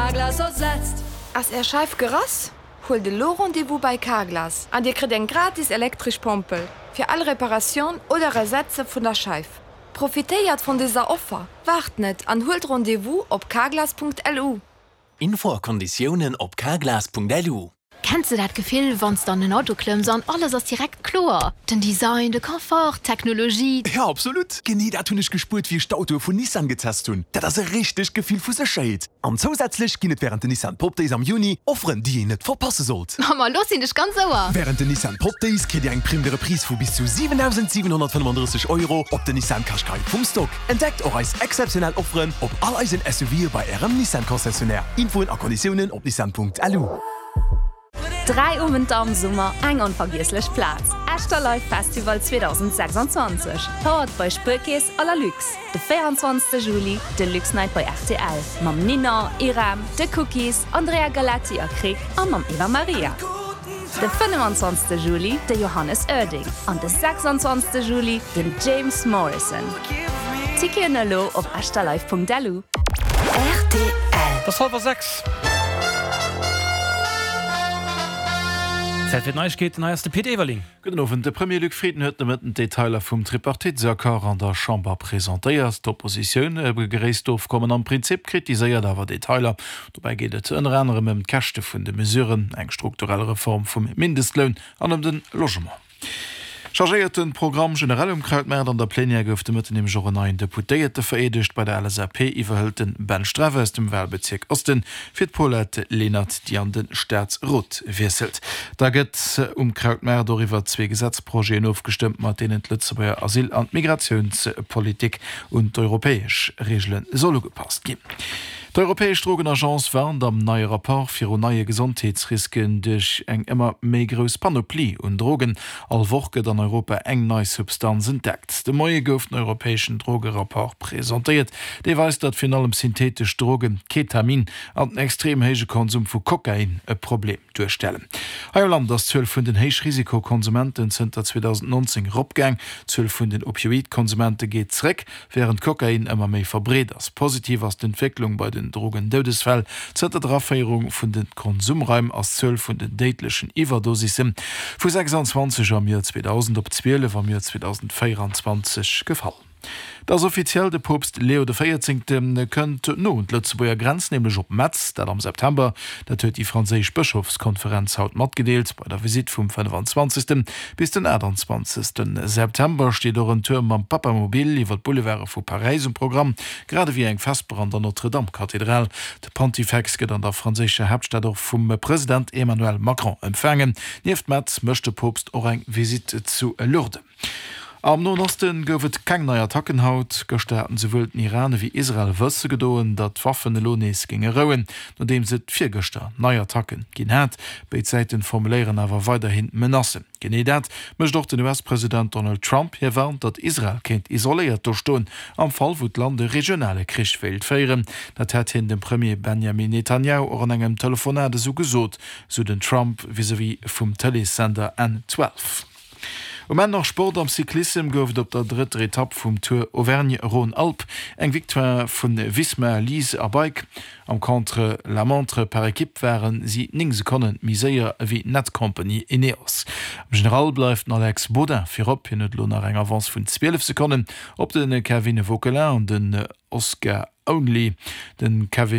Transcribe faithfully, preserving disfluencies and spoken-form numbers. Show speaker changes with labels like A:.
A: Carglass ersetzt.
B: Ass Är Scheif gerass? Huelt elo Rendez-vous bei Carglass an Dir kritt eng gratis elektresch Pompel fir all Reparatioun oder Ersetze vun der Scheif. Profitéiert vun dëser Offer, waart net an huelt Rendez-vous op carglass Punkt L U.
C: Info a Konditiounen op carglass Punkt L U.
D: Kenns de dat Gefill, wann s de an den Auto klëmms an alles ass direkt kloer? Den Design, de Confort, d'Technologie.
E: Jo, absolut. Genee dat hunn ech gespuert, wéi ech d'Autoe vun Nissan getest hunn. Dat ass e richtegt Gefill vu Sécherheet. An zousätzlech ginn et wärend den Nissan Pop Days am Juni Offeren, déi een net verpasse sollt.
D: Mamma, lo sinn ech ganz Ouer.
E: Wärend den Nissan Pop Days kritt Dir eng Prime de Reprise vu bis zu siwendausendsiwenhonnertfënnefandrësseg Euro op den Nissan Qashqai vum Stock. Entdeckt och eis exzeptionell Offeren op all eisen S U Ve bei Ärem Nissan Concessionnaire. Infoen a Konditiounen op nissan Punkt L U.
F: Dräi Owenter am Summer, eng onvergiesslech Plaz. Esch Live Festival zweedausendsechsanzwanzeg. Powered by Spuerkeess a Lalux. De véierundzwanzegste Juli, de Lux Night bei R T L. Mam Nina, Irem, The Cookies, Andrea Galetti a Krick a mam Eva Maria. De fënnefenzwanzegste Juli, de Johannes Oerding. An de sechsanzwanzegste Juli, den James Morrison. Ticketen elo op echterlive Punkt L U.
A: R T L.
G: Et ass hallwer sechs. Zäit fir d'Neiegkeeten, hei ass de Pit Everling.
H: Gudden Owend. De Premier Luc Frieden huet de Mëtten d'Detailer vum Tripartitesaccord an der Chamber presentéiert. D'Oppositioun begréisst d'Ofkommen am Prinzip, kritiséiert awer Detailer. Dobäi geet et ënner anerem ëm d'Käschte vun de Mesuren, eng strukturell Reform vum Mindestloun an ëm de Logement. Chargéierte Programm generell um Krautmaart. An der Plenière gouf de Mëtten nämlech och en neien Deputéierte vereedegt. Bei der L S A P iwwerhëlt de Ben Streff aus dem Walbezierk Osten fir d'Paulette Lenert, déi an de Staatsrot wiesselt. Da gëtt um Krautmaart och iwwer zwee Gesetzprojeten ofgestëmmt, mat deenen d'Lëtzebuerger Asyl an d'Migratiounspolitik un d'europäesch Reegele soll ugepasst ginn. D'Europäesch Drogenagence warnt am neie Rapport virun neie Gesondheetsrisken duerch eng ëmmer méi grouss Panoplie un Drogen. All Woch gëtt an Europa eng nei Substanz entdeckt. De Moie gouf den europäeschen Drogerapport presentéiert. Dee weist, datt virun allem syntheetesch Drogen, Ketamin an den extrem héije Konsum vu Kokain e Problem duerstellen. Hei am Land ass d'Zuel vun den Héichrisikokonsumenten zënter zweedausendnonzéng eropgaang. D'Zuel vun den Opioidkonsumente geet zeréck, wärend Kokain ëmmer méi verbreet ass. Positiv ass d'Entwécklung bei den Drogendoudesfäll. Zënter der Aféierung vun de Konsumraim ass d'Zuel vun den déidlechen Iwwerdosisse vu sechsanzwanzeg am Joer zweedausend op zwielef am Joer zweedausendvéierundzwanzeg gefall. Dat ass offiziell, de Poopst Leo de Véierzéngte kënnt no un d'Lëtzebuerger Grenz, nämlech op Metz, dat am September. Dat huet déi franséisch Bëschofskonferenz haut matgedeelt. Bei der Visitt vum fënnefenzwanzegste bis den aachtanzwanzegste September steet och en Tour mam Papamobil iwwer d'Boulevarde vu Paräis um Programm, grad ewéi eng Vesper an der Notre-Dame-Kathedral. De Pontifex gëtt an der franséischer Haaptstad och vum President Emmanuel Macron empfaangen. Nieft Metz mécht de Poopst och eng Visitt zu Lourdes. Am Noen Osten gouf et keng nei Attacken haut. Gëschter haten souwuel den Iran ewéi Israel wësse gedoen, datt d'Waffen elo nees géinge rouen, nodeems et virgëschter nei Attacken ginn hat. Béid Säiten formuléieren awer weiderhin Menacen. Genee dat mécht och den U S-President Donald Trump. Hie warnt, datt Israel kéint isoléiert do stoen, am Fall wou d'Land e regionale Krich wéilt féieren. Dat hätt hien dem Premier Benjamin Netanjahu och an engem Telefonat esou gesot, sou den Trump vis-à-vis vum Tëleessender N zwielef. Um Enn nach Sport. Am Cyclissem gouf et op der drëtter Etapp vum Tour Auvergne-Rhône-Alpes eng Victoire vu Visma Lease a Bike. Am Contre-la-montre par équipe ware si néng Sekonne méi séier ewéi Netcompany Ineos. Am General bleift den Alex Baudin virop, hien huet elo nach eng Avance vun zwielef Sekonnen op de Kevin Vauquelin an den Oscar Onley. De Kevin